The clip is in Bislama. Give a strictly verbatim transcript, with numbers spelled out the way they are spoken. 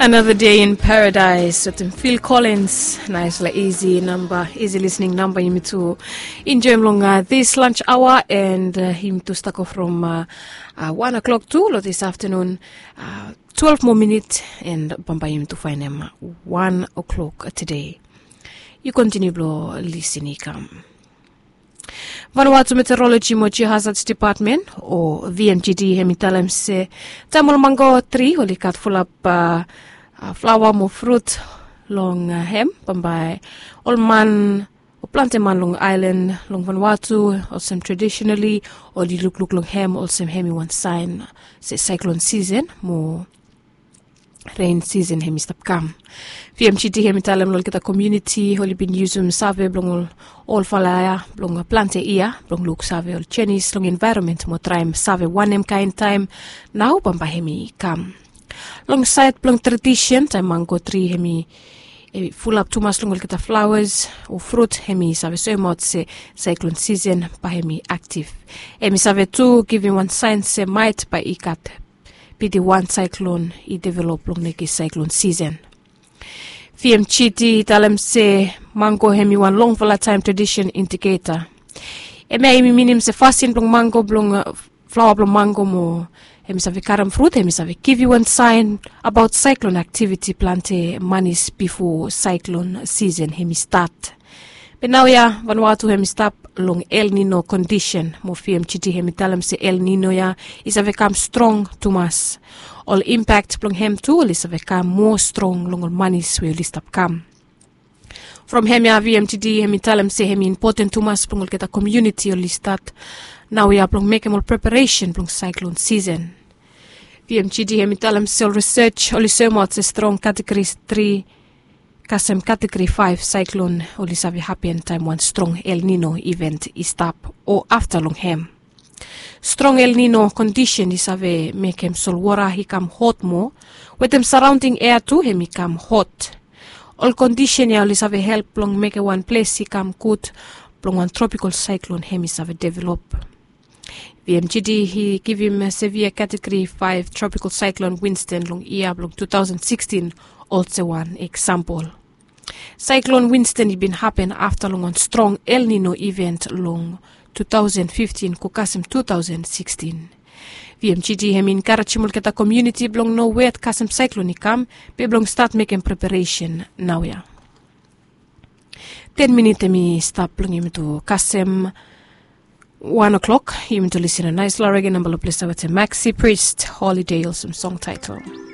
Another day in paradise wetem Phil Collins. Naisfala isi namba, isi listening namba yumi tu enjoim long this lunch hour, and yumi tu stako from one o'clock tu long this afternoon. Twelve moa minit, and bambae yumi tu faenem one o'clock today. Yu kontiniu blong lisin i kam. Vanuatu Meteorology mo Geohazards Department o V M G D hem i talem se taem ol mango tri oli gat fulap flaoa mo frut long hem, bambae ol man o plante man long aelan long Vanuatu olsem traditionally oli lukluk long hem olsem hem i wan saen se saiklon sisen mo ren sisen hem i stap kam. V M G D hem i talem long olgeta komuniti oli bin yusum save blong ol olfala ya blong plante yia blong luksave ol jenis long envaeronmen mo traem save wanem kaen taem nao bambae hem i kam. Long saed blong tradisen taem mango tri hem i fulap tumas long olgeta flaoas o frut hem i save soemaot se saiklon sisen bae hem i aktiv. Hem i save tu givim wan saen se maet bae i gat pidi wan saiklon i develop long neke saiklon sisen. V M G D i talem se mango hem i wan longfala taem tradisen indiketa. Hemia hem i minim se fasin blong mango blong flaoa blong mango mo hem i save karem frut hem i save givim wan saen abaot saiklon aktiviti plante manis bifo saiklon sisen hem i stat. Be naoia Vanuatu hem i stap long El Nino kondisen mo V M G D hem i talem se El Nino ya i save kam strong tumas. Ol impakt blong hem tu oli save kam moa strong long ol manis we oli stap kam. From hemia V M G D hem i talem se hem i impoten tumas blong olgeta komuniti oli stat naoia blong mekem ol preparesen blong saiklon sisen. V M G D hem i talem se ol risej oli soemaot se strong kategori tri kasem kategori faef saiklon oli save hapen taem wan strong El Nino iven i stap o afta long hem. Strong El Nino kondisen i save mekem solwota i kam hot moa wetem saraonding ea tu hem i kam hot. Ol kondisen ya oli save help blong mekem wan ples i kam gud blong wan tropikol saiklon hem i save develop. V M G D i givim sevia kategori faef tropikol saiklon Winston long yia blong tu taosen sikstin olsem wan eksampol. Saiklon Winston i bin hapen afta long wan strong El Nino iven long tu taosen fiftin go kasem tu taosen sikstin. V M G D hem i enkarejim olgeta komuniti blong no wet kasem saiklon i kam be blong stat mekem preparesen naoia. Ten minit hem i stap blong yumi tu kasem wan o'klok. Yumi tu lisin long naesfala rege namba long ples ya wetem Maxi Priest, Holiday olsem song taetel.